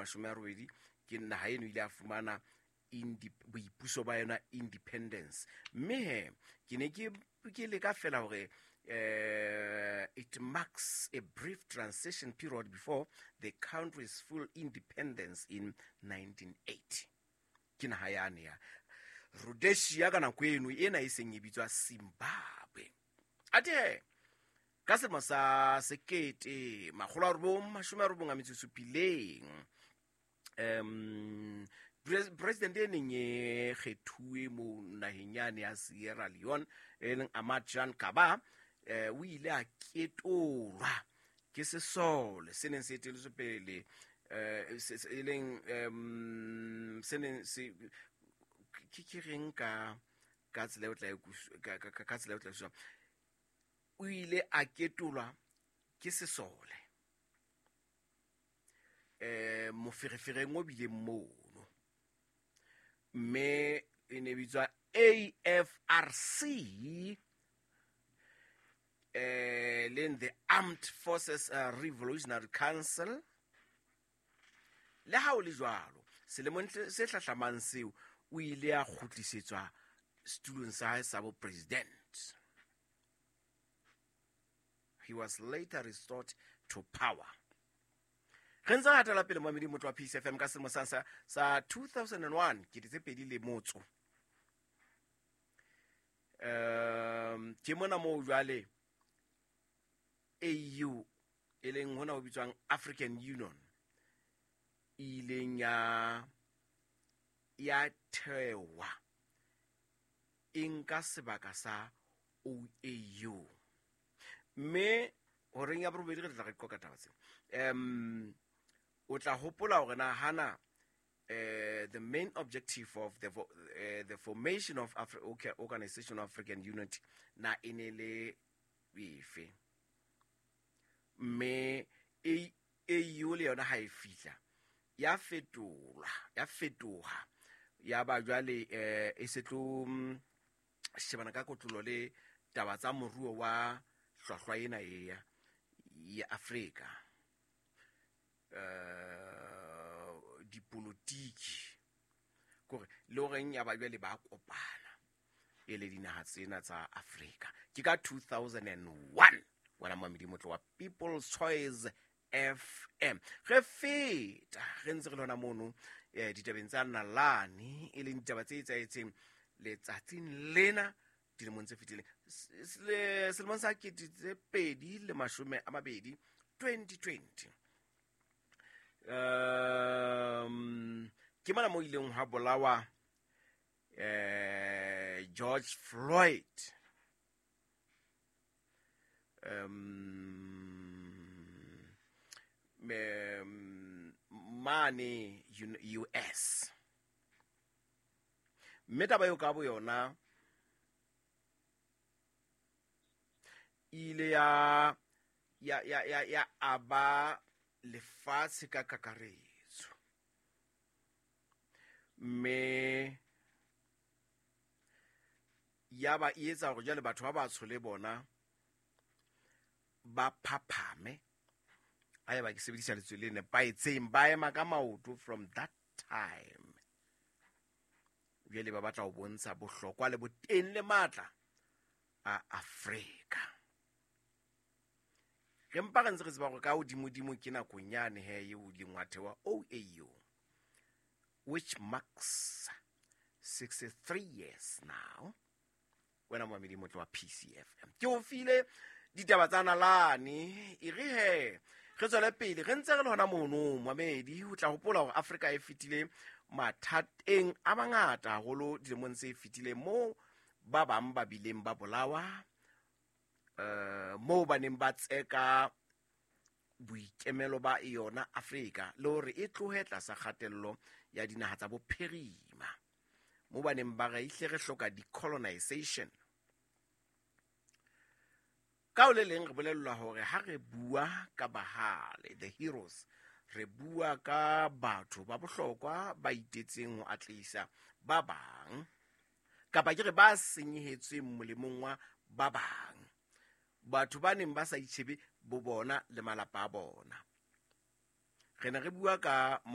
80 ke naha eno ile a fumana boipuso ba yona, independence. Mme he ke ne ke leka fela hore it marks a brief transition period before the country's full independence in 1980. Ke naha yane ya Rhodesia ka nako eno ena e seng e bitswa Zimbabwe. Athe ka selemo sa 1997, president e neng e kgethuwe mo naheng yane ya Sierra Leone, e leng Ahmad Jean Kaba, o ile a ketolwa ke sesole se neng se eteletswe pele, e leng se neng se ke reng ka tsela e tla ka tsela e tla e, o ile a ketolwa ke sesole moferefereng o bileng mono, mme e ne bitswa AFRC, leng the Armed Forces Revolutionary Council. Le ha o le jwalo, selemong se hlahlamang seo o ile a kgutlisetswa setulong sa hae sa bo president. He was later restored to power. Re ntse re hatela pele, mamedi motho wa Peace FM. Ka selemo sa 2001, 2001, ke mona moo jwale AU, e leng hona ho bitswang African Union, e ileng ya thewa, e nka sebaka sa OAU. Mme horeng ya borobedi re tla re qoqa taba tsena. O tla hopola hore na hana the main objective of the formation of okay, Organization of African Unity na e ne le efe, mme AU le yona ha e fihla ya fetolwa, ya fetoha, ya ba jwale e se tlo shebana ka kotlolo le taba tsa moruo wa hlwahlwa ena e ya Afrika, dipolotiki kore le horeng ya ba jwale ba kopana e le dinaha tsena tsa Afrika. Ke ka 2001, wena mamedi motlo wa People's Choice FM. Re feta re ntse re lona mono ditabeng tsa nalane, e leng ditaba tse etsahetseng letsatsing lena dilemong tse fetileng, selemong sa 2020, 2020. Ke mona mo ileng ha bolawa George Floyd. Mane US, mme taba eo ka bo yona ile ya aba lefatshe ka kakaretso, mme ya ba e etsa hore jwale batho ba batsho le bona ba phaphame, haeba ke sebedisa lentswe le nepahetseng, ba ema ka maoto. From that time jwale ba batla ho bontsha bohlokwa le boteng le matla a Afrika. Re mpa re ntse re tseba hore ka hodimodimo ke nakong yane he eo ileng wa thewa OAU, which marks 63 years now. Wena momamedi motlo wa PCFM, ke o file ditaba tsa nalane. E re he re tswele pele, re ntse re le hona mono. Mamedi, o tla hopola hore Afrika e fetile mathateng a mangata haholo dilemong tse fetileng, moo ba bang ba bileng ba bolawa, moo ba neng ba tseka boikemelo ba yona Afrika le hore e tlohe tlasa kgatello ya dinaha tsa bophirima, moo ba neng ba re ihle re hloka decolonization. Ka o le leng re bolellwa hore ha re bua ka bahale, the heroes, re bua ka batho ba bohlokwa ba itetseng ho atlehisa ba bang, kapa ke re ba senyehetsweng molemong wa ba bang, batho ba neng ba sa itjhebe bo bona le malapa a bona. Re ne re bua ka